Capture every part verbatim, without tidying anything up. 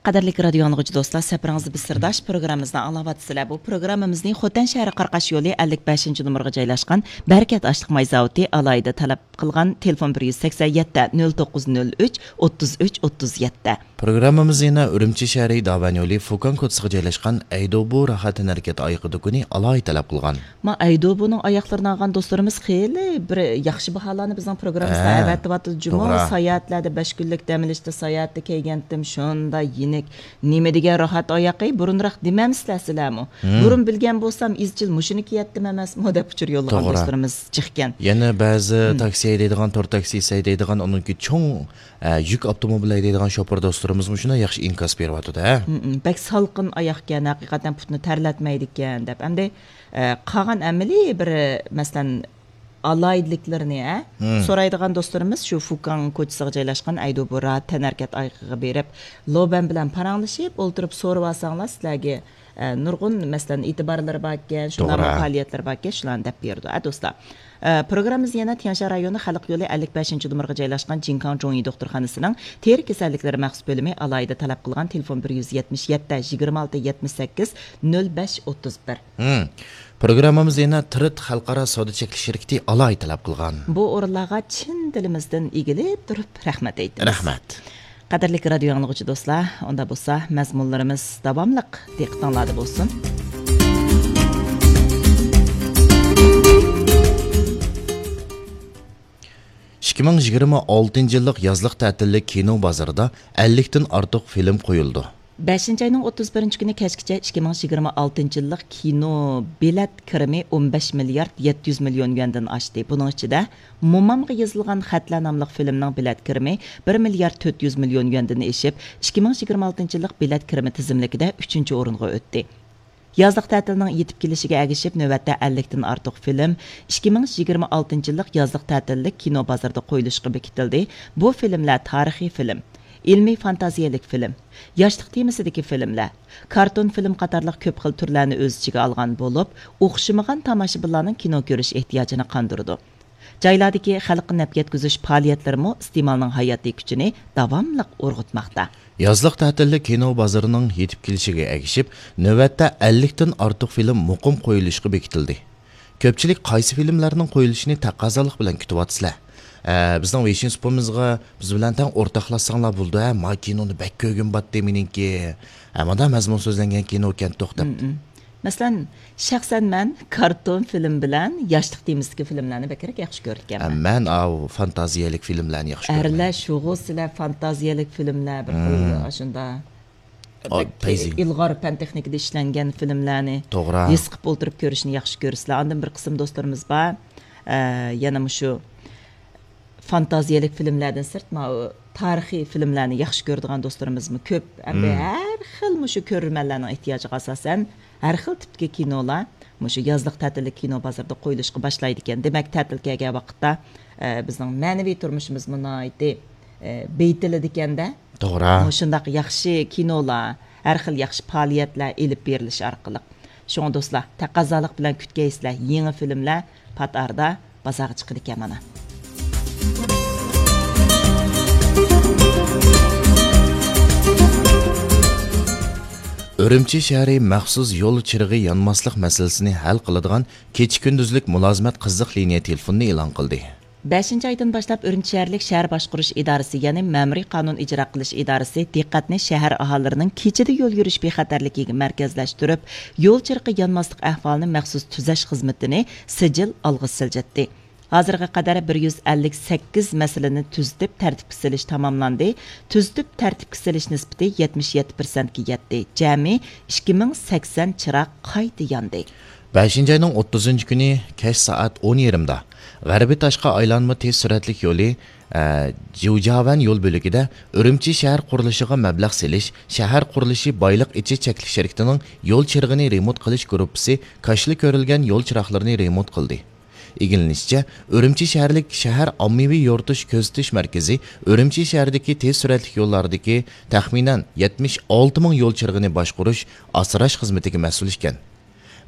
قەدىرلىك رادىيو ئاڭلىغۇچى دوستلار، سەپىرىڭىزدە بىز سىرداش پروگراممىمىزنى ئاڭلاۋاتىسىلەر. بۇ پروگراممىمىزنى خوتەن شەھىرى قاراقاش يولى ئەللىك بەشىنچى نومۇرغا جايلاشقان بەرىكەت ئاشلىق ماي زاۋۇتى ئالاھىدە تەلەپ قىلغان تېلېفون بىر يۈز سەكسەن يەتتە، نۆل توققۇز نۆل ئۈچ، ئوتتۇز ئۈچ، ئوتتۇز يەتتە. پروگراممىمىز يەنە ئۈرۈمچى شەھىرى داۋەن يولى فۇكاڭ كوچىسىغا جايلاشقان ئەيدوبۇ راھەت تەنھەرىكەت ئايىغى دۇكىنى ئالاھىدە تەلەپ قىلغان. ما ئەيدوبۇنىڭ ئاياغلىرىنى ئالغان دوستلىرىمىز خېلى بىر ياخشى باھالارنى بىزنىڭ پروگراممىمىزغا ھە، ئەۋەتىۋاتىدۇ جۇمۇ. توغرا. ساياھەتلەردە بەش كۈنلۈك دەم ئېلىشتا ساياھەتتە كەلگەنتىم، شۇنداق يېنىك. نېمە دېگەن راھەت ئاياقى، بۇرۇنراق دېمەمسىلەر سىلەرمۇ؟ ھىم. بۇرۇن بىلگەن بولسام، ئىزچىل مۇشۇنى كىيەتتىم ئەمەسمۇ دەپ ئۇچۇر يوللىغان توغرا. دوستلىرىمىز جىقكەن. يەنە بەزى ھىم. تاكسى ھەيدەيدىغان، تور تاكسىسى ھەيدەيدىغان، ئۇنىڭكى چوڭ، ئە، يۈك ئاپتوموبىل ھەيدەيدىغان شوپۇر دوستلىرىمىزمۇ شۇنداق ياخشى ئىنكاس بېرىۋاتىدۇ، ھە؟ ھىم، ھىم. بەك سالقىن ئاياقكەن، ھەقىقەتەن پۇتنى تەرلەتمەيدىكەن دەپ. ئەمدى ئە، قالغان ئەمەلىي بىر، مەسىلەن، ئالاھىدىلىكلىرىنى، ئە، مم. سورايدىغان دوستلىرىمىز شۇ فۇكاڭ كوچىسىغا جايلاشقان ئەيدۇبۇ راھەت تەنھەرىكەت ئايىغىغا بېرىپ، لوبەن بىلەن پاراڭلىشىپ، ئولتۇرۇپ سورىۋالساڭلار، سىلەرگە، ئە، نۇرغۇن، مەسىلەن، ئېتىبارلىرى باركەن، شۇنداقمۇ توغرا. پائالىيەتلىرى باركەن، شۇلارنى دەپ بېرىدۇ، ئە، دوستلار. ئە، پروگراممىمىز يەنە تيەنشان رايونى خەلق يولى ئەللىك بەشىنچى نومۇرغا جايلاشقان جىنكاڭ جۇڭيى دوختۇرخانىسىنىڭ تېرە كېسەللىكلىرى مەخسۇس بۆلۈمى ئالاھىدە تەلەپ قىلغان تېلېفون بىر يۈز يەتمىش يەتتە، يىگىرمە ئالتە، يەتمىش سەككىز، نۆل بەش، ئوتتۇز بىر. ھىم. پروگراممىمىز يەنە تىرىت خەلقئارا سودا چەكلىك شىركىتى ئالاھىدە تەلەپ قىلغان. بۇ ئورۇنلارغا چىن دىلىمىزدىن ئېگىلىپ تۇرۇپ رەھمەت ئېيتىمىز. رەھمەت. قەدىرلىك رادىيو ئاڭلىغۇچى دوستلار، ئۇندا بولسا مەزمۇنلىرىمىز داۋاملىق دىققىتىڭلاردا بولسۇن. ئىككى مىڭ يىگىرمە ئالتىنچى يىللىق يازلىق تەتىللىك كىنو بازىرىدا ئەللىكتىن ئارتۇق فىلىم قويۇلىدۇ. بەشىنچى ئاينىڭ ئوتتۇز بىرىنچى كۈنى كەچكىچە ئىككى مىڭ يىگىرمە ئالتىنچى يىللىق كىنو بېلەت كىرىمى ئون بەش مىليارد يەتتە يۈز مىليون يۈەندىن ئاشتى. بۇنىڭ ئىچىدە مومامغا يېزىلغان خەتلەر ناملىق فىلىمنىڭ بېلەت كىرىمى بىر مىليارد تۆت يۈز مىليون يۈەندىن ئېشىپ، ئىككى مىڭ يىگىرمە ئالتىنچى يىللىق بېلەت كىرىمى تىزىملىكىدە ئۈچىنچى ئورۇنغا ئۆتتى. يازلىق تەتىلنىڭ يېتىپ كېلىشىگە ئەگىشىپ، نۆۋەتتە ئەللىكتىن ئارتۇق فىلىم ئىككى مىڭ يىگىرمە ئالتىنچى يىللىق يازلىق تەتىللىك كىنو بازىرىدا قويۇلۇشقا بېكىتىلدى. بۇ فىلىملەر تارىخىي فىلىم، ئىلمىي فانتازىيەلىك فىلىم، ياشلىق تېمىسىدىكى فىلىملەر، كارتون فىلىم قاتارلىق كۆپ خىل تۈرلەرنى ئۆز ئىچىگە ئالغان بولۇپ، ئوخشىمىغان تاماشىبىنلارنىڭ كىنو كۆرۈش ئېھتىياجىنى قاندۇرىدۇ. جايلاردىكى خەلققە نەپ يەتكۈزۈش پائالىيەتلىرىمۇ ئىستېمالنىڭ ھاياتىي كۈچىنى داۋاملىق ئۇرغۇتماقتا. يازلىق تەتىللىك كىنو بازىرىنىڭ يېتىپ كېلىشىگە ئەگىشىپ، نۆۋەتتە ئەللىكتىن ئارتۇق فىلىم مۇقىم قويۇلۇشقا بېكىتىلدى. كۆپچىلىك قايسى فىلىملەرنىڭ قويۇلۇشىنى تەقەززالىق بىلەن كۈتۈۋاتىسىلەر؟ ئە، بىزنىڭ ۋېيشىن سۇپىمىزغا بىز بىلەن تەڭ ئورتاقلاشساڭلار بولىدۇ، ھە، ما كىنونى بەك كۆرگۈم باتتى مېنىڭكى. ھە، مانا مەزمۇن سۆزلەنگەن كىنوكەن توختاپ. مم، مم. مەسىلەن، شەخسەن مەن كارتون فىلىم بىلەن ياشلىق تېمىسىدىكى فىلىملەرنى بەكرەك ياخشى كۆرىدىكەنمەن. ھە، مەن ئاۋۇ فانتازىيەلىك فىلىملەرنى ياخشى كۆرىمەن. ئەرلەر شۇغۇ سىلەر فانتازىيەلىك فىلىملەر بىر خىل مم. ئاشۇنداق. ئاي، بەك پەيزى. ئىلغار پەن تېخنىكىدا ئىشلەنگەن فىلىملەرنى توغرا. ھېس قىلىپ ئولتۇرۇپ كۆرۈشنى ياخشى كۆرىسىلەر. ئاندىن بىر قىسىم دوستلىرىمىز بار، ئە، يەنە مۇشۇ فانتازىيەلىك فىلىملەردىن سىرت، ماۋۇ تارىخىي فىلىملەرنى ياخشى كۆرىدىغان دوستلىرىمىزمۇ كۆپ. ئەمدى مم. ھەر خىل مۇشۇ كۆرۈرمەنلەرنىڭ ئېھتىياجىغا ئاساسەن، ھەر خىل تىپتىكى كىنولار مۇشۇ يازلىق تەتىللىك كىنو بازىرىدا قويۇلۇشقا باشلايدىكەن. دېمەك، تەتىل كەلگەن ۋاقىتتا، ئە، بىزنىڭ مەنىۋى تۇرمۇشىمىزمۇ ناھايىتى، ئە، بېيىتىلىدىكەن-دە. توغرا. مۇشۇنداق ياخشى كىنولار، ھەر خىل ياخشى پائالىيەتلەر ئېلىپ بېرىلىشى ئارقىلىق. شۇڭا دوستلار، تەقەززالىق بىلەن كۈتكەيسىلەر، يېڭى فىلىملەر پات ئارىدا بازارغا چىقىدىكەن مانا. ئۈرۈمچى شەھىرى مەخسۇس يول چىرىغى يانماسلىق مەسىلىسىنى ھەل قىلىدىغان كېچە-كۈندۈزلۈك مۇلازىمەت قىزىق لىنىيە تېلېفونىنى ئېلان قىلدى. بەشىنچى ئايدىن باشلاپ ئۈرۈمچى شەھەرلىك شەھەر باشقۇرۇش ئىدارىسى، يەنى مەمۇرىي قانۇن ئىجرا قىلىش ئىدارىسى دىققەتنى شەھەر ئاھالىلىرىنىڭ كېچىدە يول يۈرۈش بىخەتەرلىكىگە مەركەزلەشتۈرۈپ، يول چىرىقى يانماسلىق ئەھۋالىنى مەخسۇس تۈزەش خىزمىتىنى سىجىل ئالغا سىلجىتتى. ھازىرغا قەدەر بىر يۈز ئەللىك سەككىز مەسىلىنى تۈزىتىپ تەرتىپكە سېلىش تاماملاندى. تۈزىتىپ تەرتىپكە سېلىش نىسبىتى يەتمىش يەتتە پىرسەنتكە يەتتى. جەمئىي ئىككى مىڭ سەكسەن چىراغ قايتا ياندى. بەشىنچى ئاينىڭ ئوتتۇزىنچى كۈنى كەچ سائەت ئون يېرىمدا غەربىي تاشقى ئايلانما تېز سۈرئەتلىك يولى، ئە، جيۇجياۋەن يول بۆلىكىدە ئۈرۈمچى شەھەر قۇرۇلۇشىغا مەبلەغ سېلىش، شەھەر قۇرۇلۇشى بايلىق ئېچىش چەكلىك شىركىتىنىڭ يول چىرىغىنى رېمونت قىلىش گۇرۇپپىسى كاشىلا كۆرۈلگەن يول چىراغلىرىنى رېمونت قىلدى. ئىگىلىنىشىچە، ئۈرۈمچى شەھەرلىك شەھەر ئاممىۋى يورۇتۇش كۆزىتىش مەركىزى ئۈرۈمچى شەھىرىدىكى تېز سۈرئەتلىك يوللاردىكى تەخمىنەن يەتمىش ئالتە مىڭ يول چىرىغىنى باشقۇرۇش، ئاسراش خىزمىتىگە مەسئۇل ئىكەن.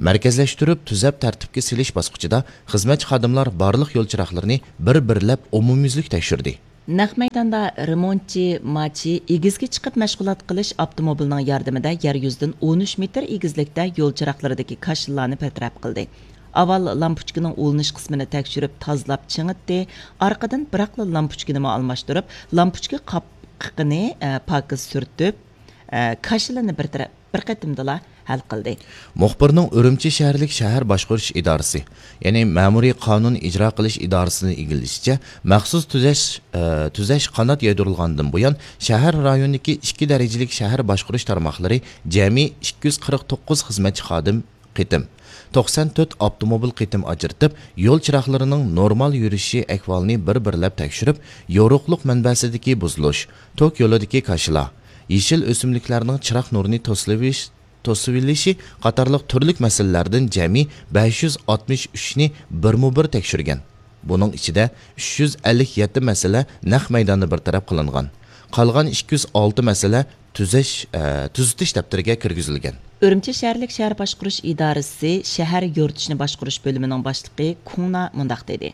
مەركەزلەشتۈرۈپ تۈزەپ تەرتىپكە سېلىش باسقۇچىدا خىزمەتچى خادىملار بارلىق يول چىراغلىرىنى بىر-بىرلەپ ئومۇميۈزلۈك تەكشۈردى. نەق مەيداندا رېمونتچى ماچى ئېگىزگە چىقىپ مەشغۇلات قىلىش ئاپتوموبىلىنىڭ ياردىمىدە يەر يۈزىدىن ئون ئۈچ مېتىر ئېگىزلىكتە يول چىراغلىرىدىكى كاشىلارنى بىر تەرەپ قىلدى. ئاۋۋال لامپۇچكىنىڭ ئۇلىنىش قىسمىنى تەكشۈرۈپ تازىلاپ چىڭىتتى. ئارقىدىن بىراقلا لامپۇچكىنىمۇ ئالماشتۇرۇپ، لامپۇچكا قاپىقىنى، ئە، پاكىز سۈرتۈپ، ئە، كاشىلىنى بىر تەرەپ، بىر قېتىمدىلا ھەل قىلدى. مۇخبىرنىڭ ئۈرۈمچى شەھەرلىك شەھەر باشقۇرۇش ئىدارىسى، يەنى مەمۇرىي قانۇن ئىجرا قىلىش ئىدارىسىنى ئىگىلىشىچە، مەخسۇس تۈزەش، ئە، تۈزەش قانات يايدۇرۇلغاندىن بۇيان، شەھەر رايونىدىكى ئىككى دەرىجىلىك شەھەر باشقۇرۇش تارماقلىرى جەمئىي ئىككى يۈز قىرىق توققۇز خىزمەتچى خادىم قېتىم، توقسان تۆت ئاپتوموبىل قېتىم ئاجرىتىپ، يول چىراغلىرىنىڭ نورمال يۈرۈشى ئەھۋالىنى بىر-بىرلەپ تەكشۈرۈپ، يورۇقلۇق مەنبەسىدىكى بۇزۇلۇش، توك يولىدىكى كاشىلا، يېشىل ئۆسۈملۈكلەرنىڭ چىراغ نۇرىنى توسۇۋېلىش-، توسۇۋېلىشى قاتارلىق تۈرلۈك مەسىلىلەردىن جەمئىي بەش يۈز ئاتمىش ئۈچنى بىرمۇبىر تەكشۈرگەن. بۇنىڭ ئىچىدە ئۈچ يۈز ئەللىك يەتتە مەسىلە نەق مەيداندا بىر تەرەپ قىلىنغان. قالغان ئىككى يۈز ئالتە مەسىلە تۈزەش، ئە، تۈزىتىش دەپتىرىگە كىرگۈزۈلگەن. ئۈرۈمچى شەھەرلىك شەھەر باشقۇرۇش ئىدارىسى شەھەر يورۇتۇشنى باشقۇرۇش بۆلۈمىنىڭ باشلىقى كۇڭنا مۇنداق دېدى: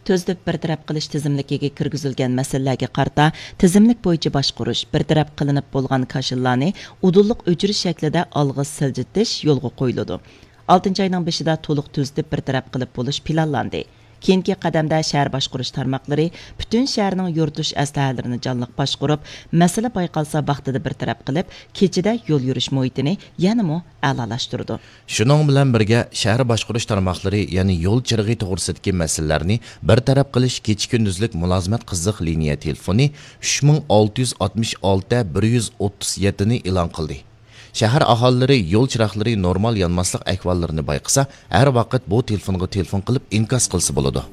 تۈزىتىپ بىر تەرەپ قىلىش تىزىملىكىگە كىرگۈزۈلگەن مەسىلىلەرگە قارىتا تىزىملىك بويىچە باشقۇرۇش، بىر تەرەپ قىلىنىپ بولغان كاشىلىلارنى ئۇدۇللۇق ئۆچۈرۈش شەكلىدە ئالغا سىلجىتىش يولغا قويۇلىدۇ. ئالتىنچى ئاينىڭ بېشىدا تولۇق تۈزىتىپ بىر تەرەپ قىلىپ بولۇش پىلانلاندى. كېيىنكى قەدەمدە شەھەر باشقۇرۇش تارماقلىرى پۈتۈن شەھەرنىڭ يورۇتۇش ئەسلىھەلىرىنى جانلىق باشقۇرۇپ، مەسىلە بايقالسا ۋاقتىدا بىر تەرەپ قىلىپ، كېچىدە يول يۈرۈش مۇھىتىنى يەنىمۇ ئەلالاشتۇرىدۇ. شۇنىڭ بىلەن بىرگە، شەھەر باشقۇرۇش تارماقلىرى يەنە يول چىرىغى توغرىسىدىكى مەسىلىلەرنى بىر تەرەپ قىلىش كېچە-كۈندۈزلۈك مۇلازىمەت قىزىق لىنىيە تېلېفونى ئۈچ مىڭ ئالتە يۈز ئاتمىش ئالتە بىر يۈز ئوتتۇز يەتتىنى ئېلان قىلدى. شەھەر ئاھالىلىرى يول چىراغلىرى نورمال يانماسلىق ئەھۋاللىرىنى بايقىسا، ھەر ۋاقىت بۇ تېلېفونغا تېلېفون قىلىپ ئىنكاس قىلسا بولىدۇ.